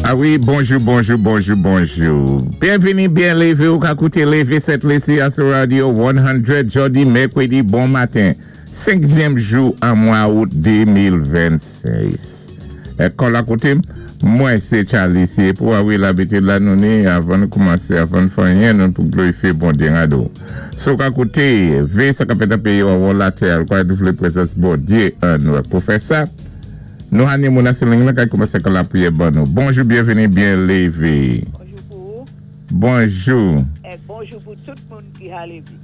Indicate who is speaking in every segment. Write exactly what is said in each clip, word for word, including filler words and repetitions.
Speaker 1: A wi, bonjou, bonjou, bonjou, bonjou. Byenvini, byen lévé ou ka kouté Lévé Sent Lisi sou Radio san, jòdi mèkwédi, bon maten. Senkyèm jou an mwa out de mil vennsis. É kon la kouté, mwen sé Charlie, sé pou a wi labitid la nou ni avan nou koumansé, avan fè anyen nou pou glorifyé Bondyé rado. So ka kouté, vé sa ka fèt an péyi ou latè, kwa nou vlé pwézans Bondyé an nou. Pou fè sa, nou ni moun sou liy la ka koumansé kon lapriyè ban nou. Bonjou, byenvini, byen lévé.
Speaker 2: Bonjou pou ou
Speaker 1: Bonjou.
Speaker 2: É bonjou pou tout moun ki a lévé.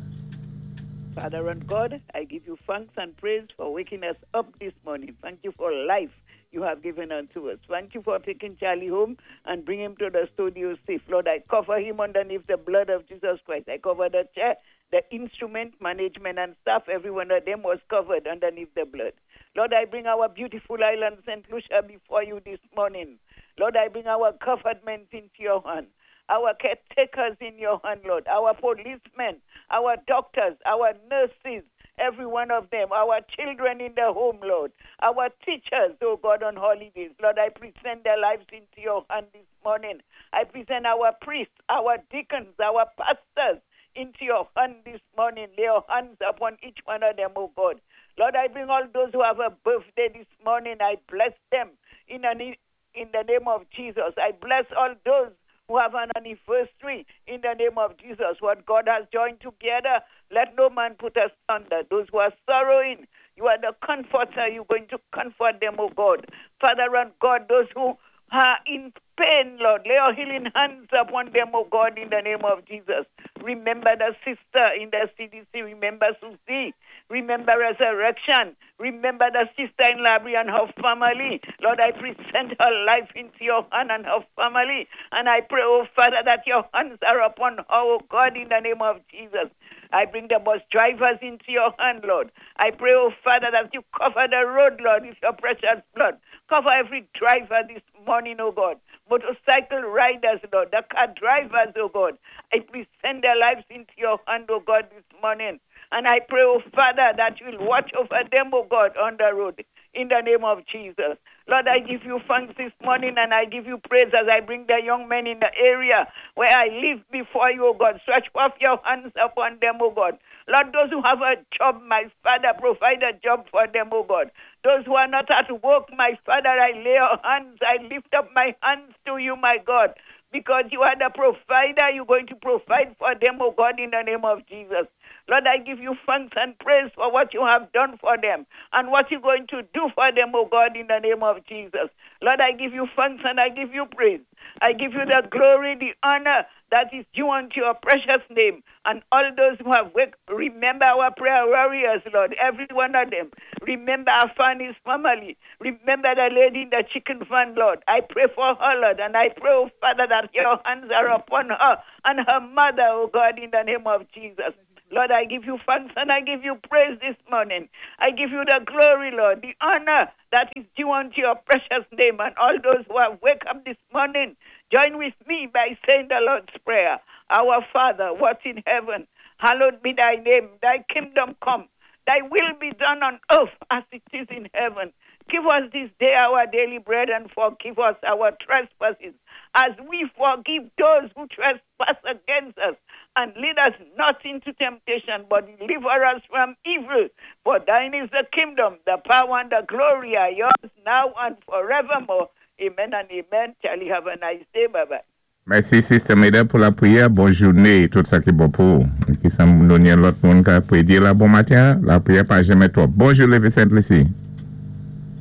Speaker 2: Father and God, I give you thanks and praise for waking us up this morning. Thank you for life you have given unto us. Thank you for taking Charlie home and bring him to the studio safe. Lord, I cover him underneath the blood of Jesus Christ. I cover the chair, the instrument, management, and staff. Every one of them was covered underneath the blood. Lord, I bring our beautiful island, Saint Lucia, before you this morning. Lord, I bring our government into your hand, our caretakers in your hand, Lord, our policemen, our doctors, our nurses, every one of them, our children in the home, Lord, our teachers, oh God, on holidays. Lord, I present their lives into your hand this morning. I present our priests, our deacons, our pastors into your hand this morning. Lay your hands upon each one of them, oh God. Lord, I bring all those who have a birthday this morning. I bless them in, an, in the name of Jesus. I bless all those who have an anniversary in the name of Jesus. What God has joined together, let no man put asunder. Those who are sorrowing, you are the comforter. You're going to comfort them, oh God. Father and God, those who are in pain, Lord, lay your healing hands upon them, oh God, in the name of Jesus. Remember the sister in the C D C. Remember Susie. Remember Resurrection. Remember the sister in Labrie and her family. Lord, I present her life into your hand and her family. And I pray, oh Father, that your hands are upon her, oh God, in the name of Jesus. I bring the bus drivers into your hand, Lord. I pray, oh Father, that you cover the road, Lord, with your precious blood. Cover every driver this morning, oh God. Motorcycle riders, Lord, the car drivers, oh God. I present their lives into your hand, oh God, this morning. And I pray, oh Father, that you will watch over them, oh God, on the road. In the name of Jesus. Lord, I give you thanks this morning and I give you praise as I bring the young men in the area where I live before you, oh God. Stretch forth your hands upon them, oh God. Lord, those who have a job, my Father, provide a job for them, oh God. Those who are not at work, my Father, I lay your hands, I lift up my hands to you, my God, because you are the provider. You're going to provide for them, oh God, in the name of Jesus. Lord, I give you thanks and praise for what you have done for them and what you're going to do for them, oh God, in the name of Jesus. Lord, I give you thanks and I give you praise. I give you the glory, the honor that is due unto your precious name. And all those who have waked, remember our prayer warriors, Lord, every one of them. Remember our Fanny's family. Remember the lady in the chicken van, Lord. I pray for her, Lord, and I pray, oh Father, that your hands are upon her and her mother, oh God, in the name of Jesus. Lord, I give you thanks and I give you praise this morning. I give you the glory, Lord, the honor that is due unto your precious name. And all those who have wake up this morning, join with me by saying the Lord's Prayer. Our Father, what in heaven, hallowed be thy name. Thy kingdom come. Thy will be done on earth as it is in heaven. Give us this day our daily bread and forgive us our trespasses as we forgive those who trespass against us. And lead us not into temptation, but deliver us from evil. For thine is the kingdom, the power, and the glory are yours now and forevermore. Amen and amen. Charlie, have a nice day. Bye bye.
Speaker 1: Mèsi, Sister Meda, pou lapriyè. Bòn jounen, tout sa ki bon pou. Ki sa nou ni lòt moun ka pwédyé la bon maten, lapriyè pa janmè twòp. Bonjou, Lévé Sent-Lisi.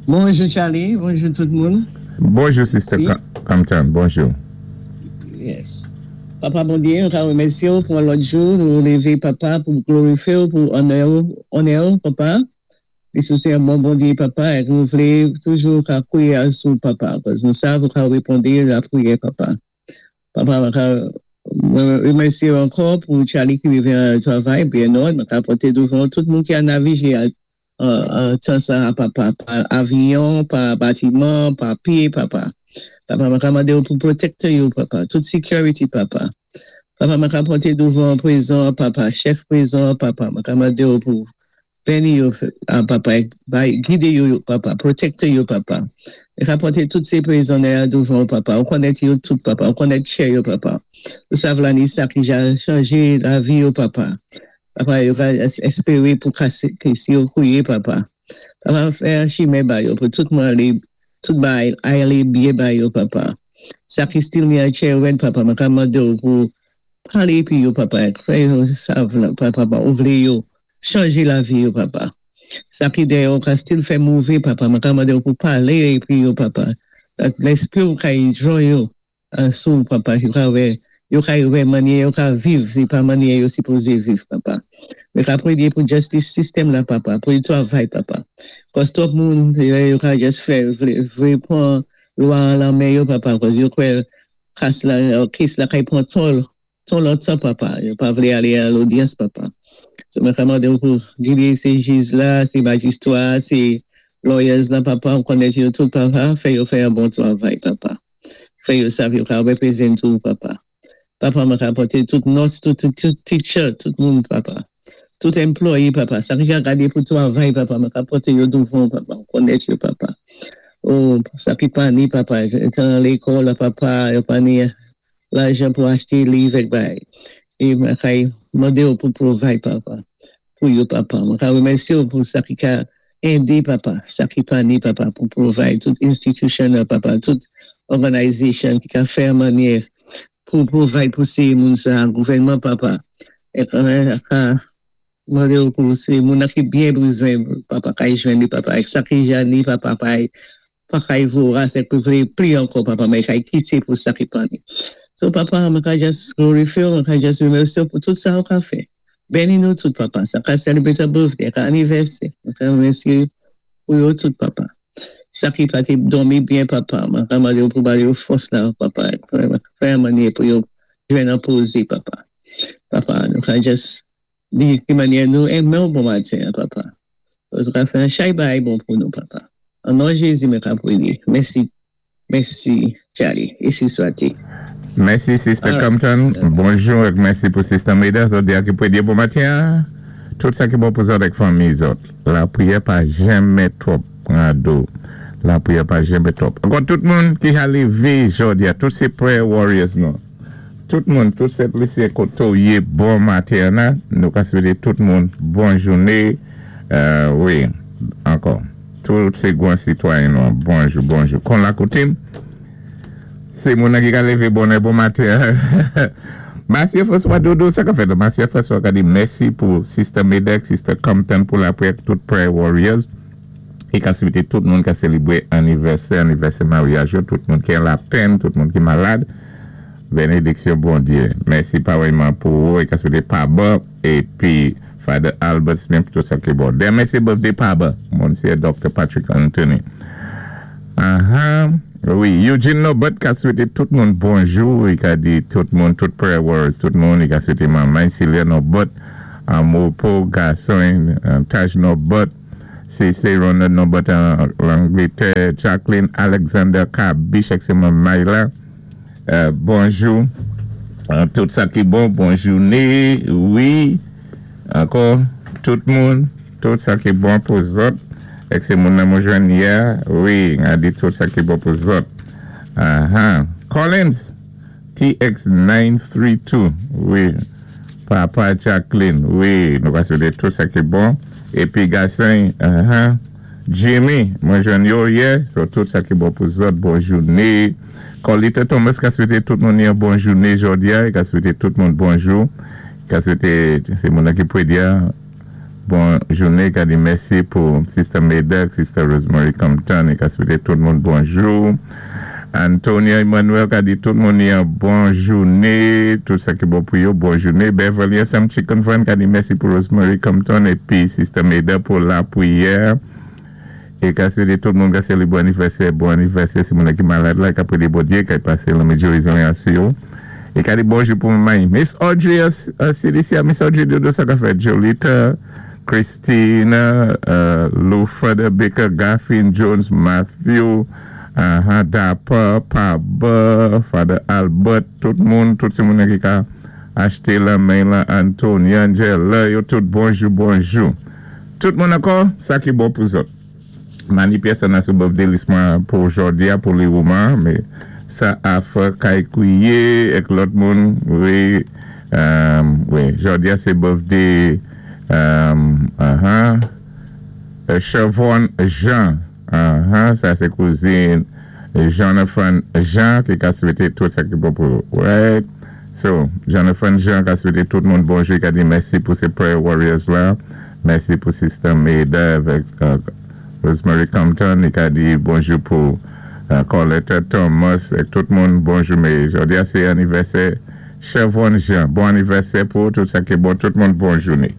Speaker 3: Bonjou, Charlie. Bonjou tout moun.
Speaker 1: Bonjou, Sister
Speaker 3: Si.
Speaker 1: Compton. Bonjou.
Speaker 3: Yes. Papa Bondyé, nou ka wémèsyé ou pou lòt jou, nou lévé, Papa, pou glorifyé ou, pou onè ou, onè ou, Papa. É ou sé yon bon Bondyé, Papa, é nou vlé toujou ka kwiyé sou Papa, paski nou sav ou ka wéponn lapriyè, Papa. Papa, mwen ka wémèsyé ankò pou Charlie ki rivé an travay, byen òd, mwen ka pòté douvan tout moun ki a navigé an tan sa, Papa, pa avyon, pa batiman, pa pyé, Papa. Papa, mwen ka mandé ou pou pwotektè yo, Papa. Tout security, Papa. Papa, mwen ka pòté douvan prizon, Papa. Chèf prizon, Papa. Mwen ka mandé ou pou Béni yo, papa, gidé yo, papa, pwotékté yo, papa. É rapòté tout sé pwizonnyé douvan, papa. Ou konnèt yo tout, papa. Ou konnèt chè yo, papa. Ou sav la ni sa ki ja chanjé lavi yo, papa. Papa, yo ka espéwé pou kasé, si yo kwiyé, papa. Papa, fè chimen ba yo pou tout moun alé, tout bagay alé byen ba yo, papa. Sa ki still ni an chè wèn, papa, mwen ka mandé ou pou palé pi yo, papa. Fè yo sav, papa, ou vlé yo chanjé lavi yo, papa. Sa ki déyò ka still fè mové, papa, mwen ka mandé ou pou palé pi yo, papa. Léspwi ou ka jwenn yo sou, papa, yo ka wè, yo ka wè mannyè yo ka viv, sé pa mannyè yo sipozé viv, papa. Mwen ka pwéyé pou justice system la, papa, pou yo twavay, papa. Kòz twòp moun, yo ka just fè, vlé pwan lwa lan men yo, papa, kòz yo kwè kas la, case la kay pwan twò, twò lontan, papa. Yo pa vlé alé a lodyans, papa. So mwen ka mandé ou pou gidé sé jij la, sé majistra, sé lawyers la, papa, ou konnèt yo tout, papa, fè yo fè yon bon twavay, papa. Fè yo sav yo ka wépwézenté ou, papa. Papa, mwen ka pòté tout nurse, tout, tout, tout teacher, tout moun, papa. Tout employé, papa. Sa ki ja gadé pou twavay, papa, mwen ka pòté yo douvan, papa. Ou konnèt yo, papa. Oh, sa ki pa ni, papa, étan lékòl, papa, yo pa ni lajan pou achté liv èk bagay. É mwen ka mandé ou pou provide, papa. Pou yo, papa. Mwen ka wémèsyé ou pou sa ki ka édé, papa. Sa ki pa ni, papa, pou provide tout institution, papa, tout organization ki ka fè mannyè pou provide pou sé moun sa, gouvènman, papa. É ka mandé ou pou sé moun ki byen bézwen, papa, ka jwenn li, papa. Èk sa ki ja ni, papa, pa pa kay voras, èk pou vlé pli ankò, papa, men kay kité pou sa ki pa ni. So, papa, mwen ka just glorify, mwen ka just remèsyé pou tout sa ou ka fè. Béni nou tout, papa. Sa ka celebrate a birthday, ka anivèsè. Mwen ka remèsyé pou yo tout, papa. Sa ki pa té dòmi byen, papa. Mwen ka mandé ou pou ba yo fòs la, papa. Fè mannyè pou yo jwenn an pozé, papa. Papa, nou ka just di ki mannyè nou enmen ou bon maten, papa. Ou ka fè an chay bagay bon pou nou, papa. An non Jézi, mwen ka pwéyé. Mèsi. Mèsi, Charlie. É swati.
Speaker 1: Mèsi, Sister
Speaker 3: All right.
Speaker 1: Compton. Bonjou é mèsi pou Sister Meda. Zòt di ki pwéyé bon maten. Tout sa ki bon pou zòt avèk fanmi zòt. Lapwiyè pa janmè twòp, Rado. Lapwiyè pa janmè twòp. Ankò tout moun ki a lévé jòdi a, tout sé prayer warriors nou. Tout moun, tout Sent Lisi koté ou yé bon maten la. Nou ka swété tout moun bon jouné. Euh, wi, ankò. Tout sé gwan sitwayen nou. Bonjou, bonjou. Kon la koutim. Sé moun ki ka lévé bonè bon maten. Masye François Dodo, sa ka fèt. Masye François ka di mèsi pou Sister Medek, Sister Compton pou lapwiyè tout prayer warriors. É ka swété tout moun ka sélébwé anivèsè, anivèsè maryaj, yo, tout moun ki an lapenn, tout moun ki malad. Bénédiksyon Bondyé. Mèsi parèyman pou ou é ka swété Paba épi Father Albert Smith tout sa ki bon. Denmen sé birthday Paba. Monsye Dr. Patrick Anthony. Ah Wi, Eugene Nobert ka swété tout moun bonjou, i ka di tout moun, tout prayer warriors, tout moun, i ka swété manman Celia Nobert, Amopo gason, Taj Nobert, C C Ronald Nobert an Langlétè, Jacqueline Alexander Kabish, c'est manman la. Euh, bonjou. Euh, tout sa ki bon, bon jouné, wi. Ankò, tout moun, tout sa ki bon pou zòt. É sé moun nan mwen jwenn yè, wi, a di tout sa ki bon pou zòt. Ah, Collins, T X nine three two, wi. Papa Jacqueline, wi, nou va swété tout sa ki bon. Épi gason, uh Jimmy, mwen jwenn yo yè, so tout sa ki bon pou zòt, bon jouné. Colita Thomas ka swété tout moun yon bon jouné jòdi a, ka swété tout moun bonjou. Ka swété, sé moun ki pwéyé bon jouné, ka di mèsi pou Sister Medek, Sister Rosemary Compton, é ka swété tout moun bonjou. Antonia Emmanuel ka di tout moun yon bon jouné, tout sa ki bon pou yo, bon jouné. Beverly Sam Chicken Van ka di mèsi pou Rosemary Compton épi Sister Meda pou lapwiyè. É ka swété tout moun ka sélébwé anivèsè, bon anivèsè, sé moun ki malad la, ka pwéyé Bondyé, ka pasé lanmèd gérizon sou yo. É ka di bonjou pou manman. Miss Audrey, uh, C D C, Miss Audrey Dodo, sa ka fèt. Jolita, Christina, uh, Lufada Baker, Gaffin Jones, Matthew, uh, Dapper, Paba, Father Albert, tout moun, tout sé moun ki ka achté la men la, Antonia, Angela, yo tout bonjou, bonjou. Tout moun ankò, sa ki bon pou zòt. Ma ni pèsonn sou birthday list mwen pou jòdi-a, pou li woman, mé sa a fè kay kwiyé èk lòt moun, wi, euh, wi, jòdi-a sé birthday euh, uh-huh, Chevron Jean, uh-huh, sa sé kouzin Jonathan Jean ki ka swété tout sa ki bon pou, right? So, Jonathan Jean ka swété tout moun bonjou, ka di mèsi pou sé Prayer Warriors la, mèsi pou Sister Maida avèk euh, Rosemary Compton, li ka di bonjou pou euh, Colette Thomas, èk tout moun bonjou, mé jòdi-a sé anivèsè Chevron Jean. Bon anivèsè pou tout sa ki bon, tout moun bon jouné.